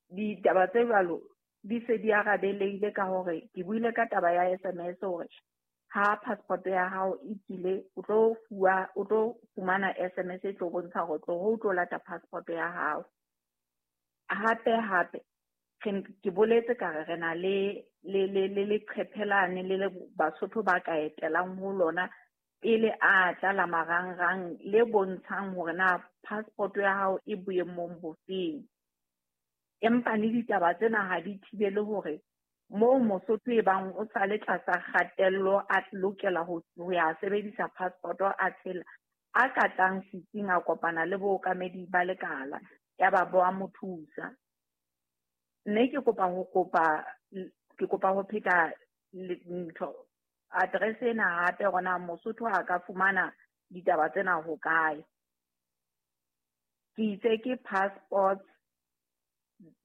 ditaba tse jwalo di se di arabeleile ka hore ke buile ka taba ya S M S hore ha passport ya hao e tswile, o tlo fuwa, o tlo fumana S M S e tlo bontsha hore tlo ho tlo lata passport ya hao. Hape hape ke boletse ka re re na le le le le leqephe lane le le Basotho ba ka etelang ho lona pele a tla la marangrang le bontshang hore na passport ya hao e boemong bofeng. Empa le ditaba tsena ha di thibele hore moo Mosotho e bang o sa le tlasa kgatello a lokela ho ho ya sebedisa passport a tshela, a ka tlang setsing a kopana le bookamedi ba lekala ya ba bo a mo thusa. Mme ke kopa ho kopa ke kopa ho pheta ntho address ena hape hore na Mosotho a ka fumana ditaba tsena ho kae. Ke itse ke passports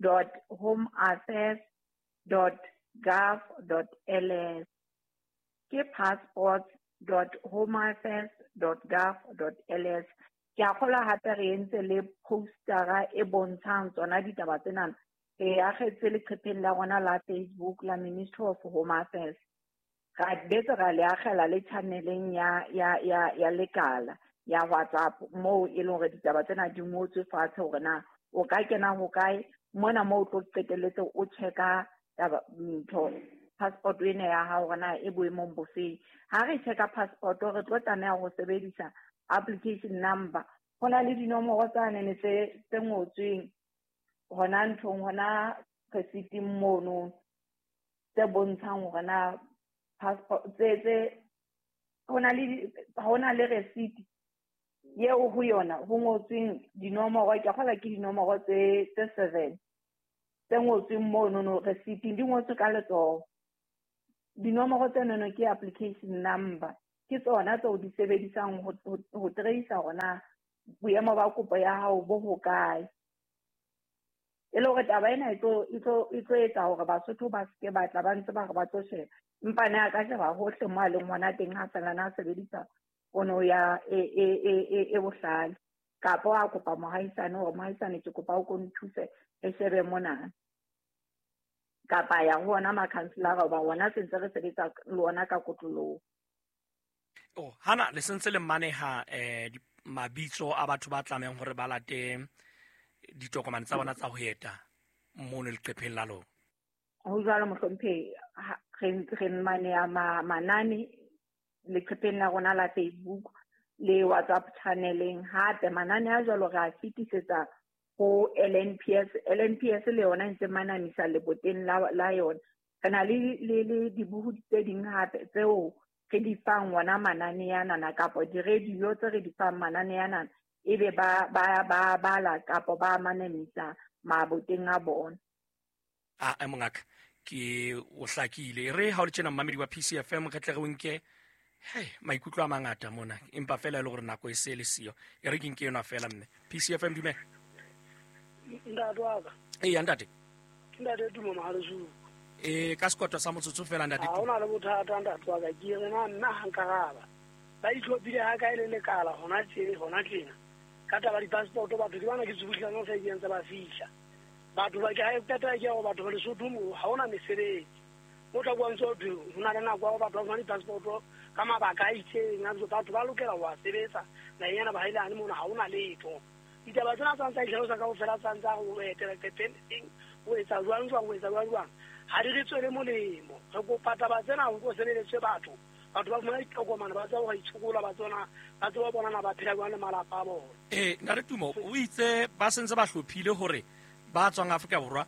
dot home affairs dot gov dot L S. Ke passports dot home affairs dot gov dot L S. Ke a kgolwa hape re entse le postera e bontshang tsona ditaba tsena. Re akgetse leqepheng la rona la Facebook la Ministry of Home Affairs. Ra betse ra le akgela le channeleng ya ya ya ya lekala ya WhatsApp moo e leng hore ditaba tsena di ngotswe fatshe hore na o ka kena ho kae mona moo o tlo qetelletse o checka taba ntho passport ena ya hao hore na e boemong bofeng. Ha re checka passport re tlo tlameha ho sebedisa application number. Ho na le dinomoro tsane tse tse ngotsweng hona nthong hona receipt-ing mono tse bontshang hore na passport tse tse hona le hona le receipt eo ho yona ho ngotsweng dinomoro, ke kgolwa ke dinomoro tse tse seven tse ngotsweng mono no receipt-ing, di ngotswe ka letsoho. Dinomoro tsenono ke application number, ke tsona tseo di sebedisang ho ho trace hore na boemo ba kopo ya hao bo hokae. E le hore taba ena e tlo e tlo e tlo etsa hore Basotho ba seke ba tla ba ntse ba re ba tlo sheba. Empa ne a ka sheba hohle mo a leng hona teng ha fela na sebedisa pono ya e e e e bohlale. Kapa a kopa mohaisane hore mohaisane ke kopa o ko nthuse re shebe mona. Kapa ya ho ona makhanselara hoba ona se ntse re sebetsa le ona ka kotloloho. Oh, hana le sentse le maneha eh mabitso a batho ba tlamehang hore ba late ditokomane tsa bona tsa ho eta mono leqepheng la lona. Ho jwalo mohlomphehi, re re maneha manane leqepheng la rona la Facebook le WhatsApp channeleng. Hape manane a jwalo re a fetisetsa ho L N P S. L N P S le yona e ntse manamisa leboteng la la yona. Re na le le le dibuhudi tse ding hape tseo re di fang wona manane anana kapa di-radio tse re di fang manane anana, ebe ba ba ba bala kapa ba manamisa maboteng a bona. A e mongaka ke o hlakile. Re ha o le tjena mmamedi wa P C F M re tle re o nke hey maikutlo a mangata mona, empa fela e le hore nako e se le siyo. E re ke nke yona fela mme. P C F M dumela. Ntate wa ka. Ee ntate. Ke ntate Tumo Mahalesuku. E ka sekotwa sa motsotso fela ntate. Ha hona le bothata ntate wa ka, ke re na nna ha nkaraba. Ba itlhophile ha kae le lekala hona tjena hona tjena. Ka taba di-passport batho ke bana ke tsubuhlana sa di ntse ba fihla. Batho ba ke ha qeta ke hore batho ba Lesotho mo ha hona mesebetsi. O tla bua ntse o thwe ho na le nako ya batho ba fumana di-passport ka mabaka a itseng, a batho ba lokela ho a sebetsa naheng ena ba haelane mona ha hona letho. Ditaba tsena tsa ntsa itlhalosa kaofela tsa ntsa ho etela leqepheng ho etsa jwang jwang ho etsa jwang jwang ha di re tswele molemo. Re kopa taba tsena ho ko sebeletswe batho, batho ba fumana ditokomane ba tseba ho itshokola, ba tsona ba tseba bona ba phela jwang le malapa a bona. Eh ntate Tumo o itse ba sentse ba hlophile hore ba tswang Afrika Borwa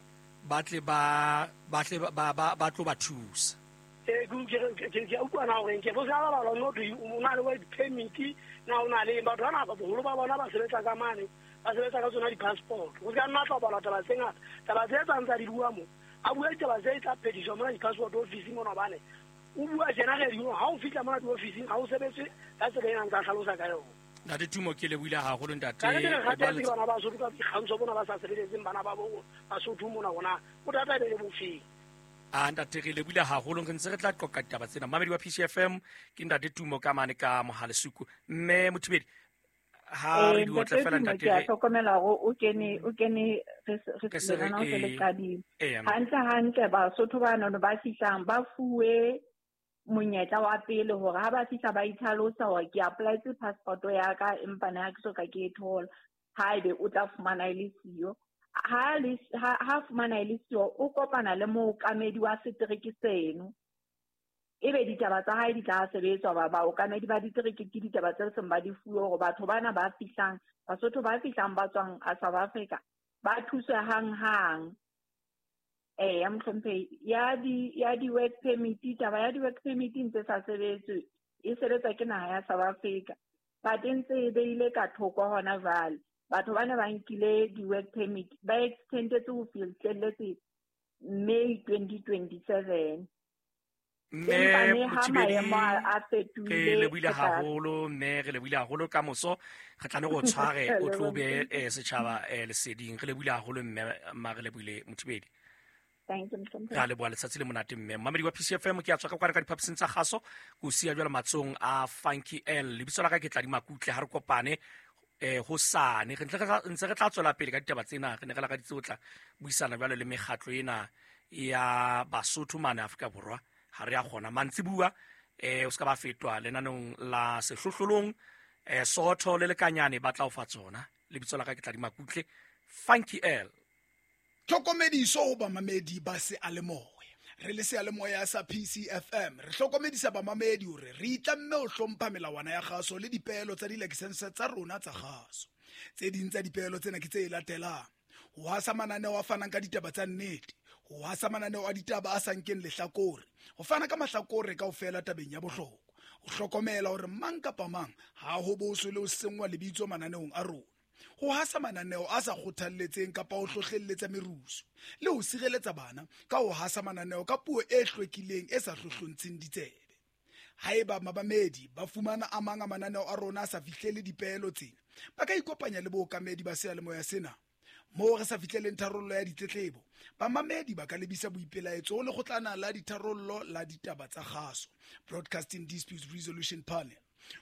ba tle ba ba tle ba ba ba tlo ba thusa. Eh ke ke ke utlwa na hore ke bo sa ba ba no o na le work permit na o na le batho bana ba boholo ba bona ba sebetsa ka mane ba sebetsa ka tsona di-passport. Ho ka nna tla bala taba tse ngata, taba tse tsang tsa di bua mo a bua ditaba tse tla phediswa mona di-passport office mona, hobane o bua tjena re di ha o fihla mona di-officing ha o sebetse ka tsela ena ntsa hlalosa ka yona. Ntate Tumo ke lebohile haholo ntate. Ka re bana ba Basotho ka dikgantsho bona ba sa sebeletseng bana ba bo Basotho mona hona bothata e be le bofeng. A ntate re lebohile haholo, re ntse re tla qoqa ditaba tsena. Mamedi wa P C F M ke ntate Tumo ka mane ka Mohalesuku. Mme Mothibedi ha re di otle fela ntate ke a hlokomela hore o kene o kene re re se le qadile. Hantle hantle Basotho ba nono ba fihlang ba fuwe monyetla wa pele hore ha ba fihla ba itlhalosa hore ke applyetse passport ya ka empa na ke soka ke e thola. Haebe o tla fumana e le siyo, ha le ha fumana e le siyo o kopana le mookamedi wa setereke seno, ebe ditaba tsa hae di tla sebetswa. Ba baokamedi ba ditereke ke ditaba tse seng ba di fuwe hore batho bana ba fihlang Basotho ba fihlang ba tswang a South Africa ba thuswe hang-hang. Eh ya mohlomphehi ya di ya di work permit, taba ya di work permit ntse sa sebetswe, e sebetsa ke naha ya South Africa, but ntse e beile ka thoko hona jwale. Batho bana ba nkile di work permit ba extendetse ho fihlelletse May twenty twenty-seven. Mme Mothibedi re lebohile haholo, mme re lebohile haholo. Ka moso re tla ne go tshware o tlo be setjhaba leseding. Re lebohile haholo mme ma re lebohile Mothibedi. Thank you. Re leboha letsatsi le monate mme. Mamedi wa P C F M ke a tswa ka kwana ka diphaposing tsa kgaso, ke o siya jwale matsong a Funky L. Lebitso la ka ke Tladi Makutle. Ha re kopane eh hosane re ntse re tla tswela pele ka ditaba tsena. Re ne re lakaditse ho tla buisana jwale le mekgatlo ena ya Basotho mane Afrika Borwa. Ha re a kgona mantsibua eh o ska ba fetwa lenanong la sehlohlolong eh Sootho le Lekanyane ba tla o fa tsona. Lebitso la ka ke Tladi Makutle, Funky L. Tlhokomediso ho bamamedi ba seyalemoya. Re le seyalemoya sa P C F M re hlokomedisa bamamedi hore re itlamme ho hlompha melawana ya kgaso le dipeelo tsa dilakesense tsa rona tsa kgaso. Tse ding tsa dipeelo tsena ke tse latelang: ho hasa mananeo a fanang ka ditaba tsa nnete, ho hasa mananeo a ditaba a sa nkeng lehlakore, ho fana ka mahlakore kaofela tabeng ya bohlokwa, ho hlokomela hore mang kapa mang ha ho boswe le ho senngwa lebitso mananeong a rona, ho hasa mananeo a sa kgothalletseng kapa ho hlohlelletsa merusu, le ho sireletsa bana ka ho hasa mananeo ka puo e hlwekileng e sa hlohlontsheng ditsebe. Haeba mabamedi ba fumana a mang a mananeo a rona a sa fihlele dipeelo tsena, ba ka ikopanya le bookamedi ba seyalemoya sena. Moo re sa fihleleng tharollo ya ditletlebo, bamamedi ba ka lebisa boipelaetso ho lekgotlana la ditharollo la ditaba tsa kgaso, Broadcasting Disputes Resolution Panel.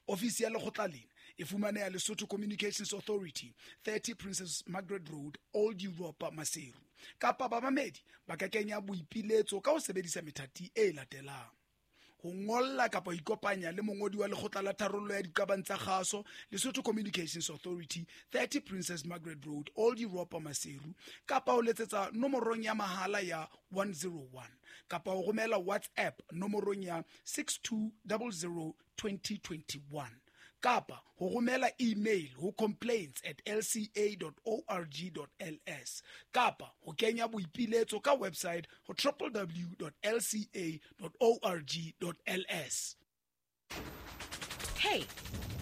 Ofisi ya lekgotla lena e fumaneha Lesotho Communications Authority, thirty Princess Margaret Road, Old Europa, Maseru. Kapa bamamedi ba ka kenya boipiletso ka ho sebedisa methati e latelang: ho ngolla kapa ho ikopanya le mongodi wa lekgotla la tharollo ya diqabang tsa kgaso, Lesotho Communications Authority, thirty Princess Margaret Road, Old Europa, Maseru, kapa ho letsetsa nomorong ya mahala ya one zero one, kapa ho romela WhatsApp nomorong ya six two zero zero twenty twenty-one, kapa ho romela email ho complaints at l c a dot org dot l s, kapa ho kenya boipiletso ka website ho w w w dot l c a dot org dot l s. Hey,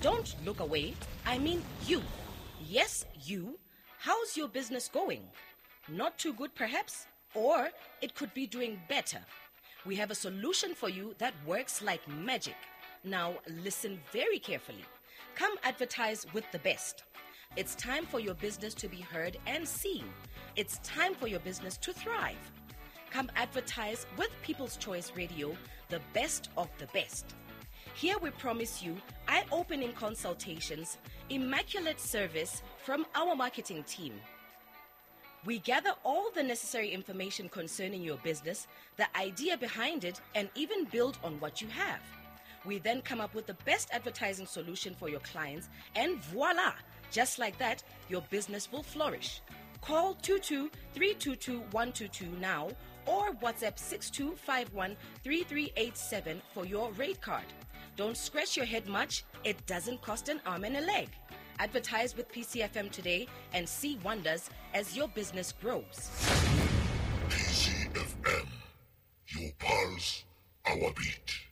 don't look away. I mean you. Yes, you. How's your business going? Not too good, perhaps? Or it could be doing better. We have a solution for you that works like magic. Now, listen very carefully. Come advertise with the best. It's time for your business to be heard and seen. It's time for your business to thrive. Come advertise with People's Choice Radio, the best of the best. Here we promise you eye-opening consultations, immaculate service from our marketing team. We gather all the necessary information concerning your business, the idea behind it, and even build on what you have. We then come up with the best advertising solution for your clients, and voila! Just like that, your business will flourish. Call two two three two two one two two now or WhatsApp six two five one three three eight seven for your rate card. Don't scratch your head much. It doesn't cost an arm and a leg. Advertise with P C F M today and see wonders as your business grows. P C F M, your pulse, our beat.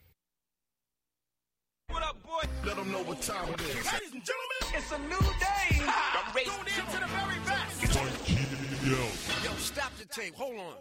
What up, boy? Let them know what time it is. Ladies and gentlemen, it's a new day. Ha! I'm tune in to the very best. Yo. Yo, stop the tape. Hold on.